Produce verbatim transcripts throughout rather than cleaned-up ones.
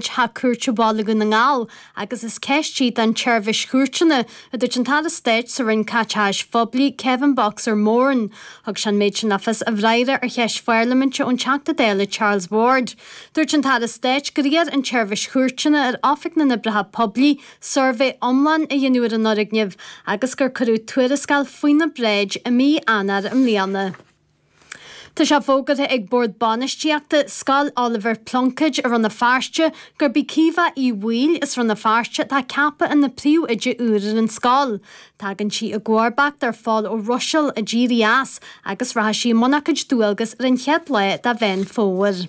Theach Cúirte Bhaile Dhún na nGall agus is ceist í don tSeirbhís Chúirteanna, a dúirt an tAire Stáit sa Roinn Caiteachais Phoiblí, Kevin Boxer Moran. Thug sé an méid sin le fios i bhfreagra ar cheist pharlaiminte ón Teachta Dála Charles Ward. Dúirt an tAire Stáit gur iarr an tSeirbhís Chúirteanna ar Oifig na nOibreacha Poiblí suirbhé iomlán a dhéanamh ar an fhoirgneamh agus gur cuireadh tuarascáil faoina bhráid i mí Eanáir i mbliana. Tá sé fógartha ag Bord Bainistíochta Scoil Oliver Plunkett i Rann na Feirste gurb í Caoimhe Uí Bhaoill as Rann na Feirste atá ceaptha ina príomhoide úr ar an scoil. Tagann sí i gcomharbacht ar Phól Ó Ruiséil a d'éirigh as agus rachaidh sí i mbun a cuid dualgas ar an chéad lá de Mheán Fómhair.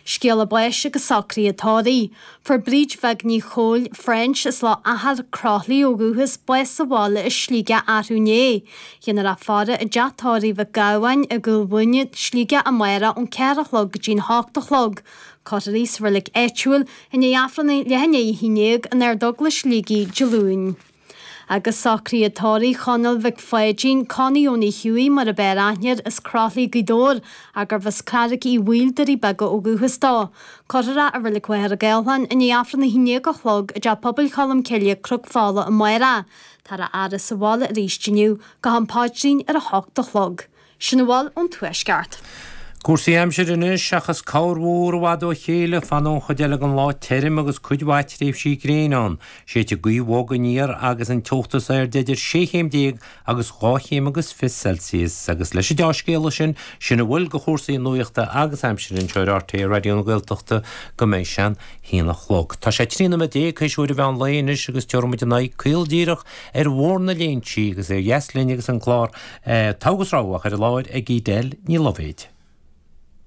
Scéala báis agus socruithe tórraimh. Fuair Bríd Bheag Ní Chóill, French as Loch Achar, Croithlí ó dhúchas, bás sa bhaile i Sligeach arú inné. Déanfar í a fhaire i dteach tórraimh Mhic Gabhann i gCúil Mhuine, Sligeach amárach ón ceathair a chlog go dtí'n hocht a chlog. Cuirfear í sa reilig áitiúil i ndiaidh Aifreann a leath i ndiaidh a haon déag in Ardeaglais Shligigh Dé Luain. Agus socruithe tórraimh Chonaill Mhic Pháidín, Connie Owenie Hughie mar ab fhearr aithne air as Croithlí Gaoth Dobhair ach gurbh as Carraig Uí Bhaoill Doirí Beaga ó dhúchas dó. Cuirfear é i Reilig Mhachaire Gathlán i ndiaidh Aifreann a haon déag a chlog i dTeach Pobail Cholm Cille Cnoc Fola amárach. Táthar á fhaire sa bhaile arís inniu go ham paidrín ar a hocht a chlog. Sin a bhfuil ón Tuaisceart. Cúrsaí aimsire anois seachas corrmhúr i bhfad ó chéile fanfaidh an chuid eile den lá tirim agus cuid mhaith tréimhsí gréine ann. Séidfidh gaoth bhog aniar agus an teocht is airde idir sé chéim déag agus dhá chéim agus fiche Celsius agus leis an dea-scéala sin sin a bhfuil de chúrsaí nuachta agus aimsire anseo ar RTÉ Raidió na Gaeltachta go mbeidh sé an haon a chlog. Tá sé trí nóiméad déag théis uair an mheán lae anois agus tabharfaimid ár n-aghaidh caol díreach ar Bhóthar na Léinsí agus ar dheas linn agus an clár eh, Togha agus Rogha ar an láthair ag Edel Ní Loibhéid.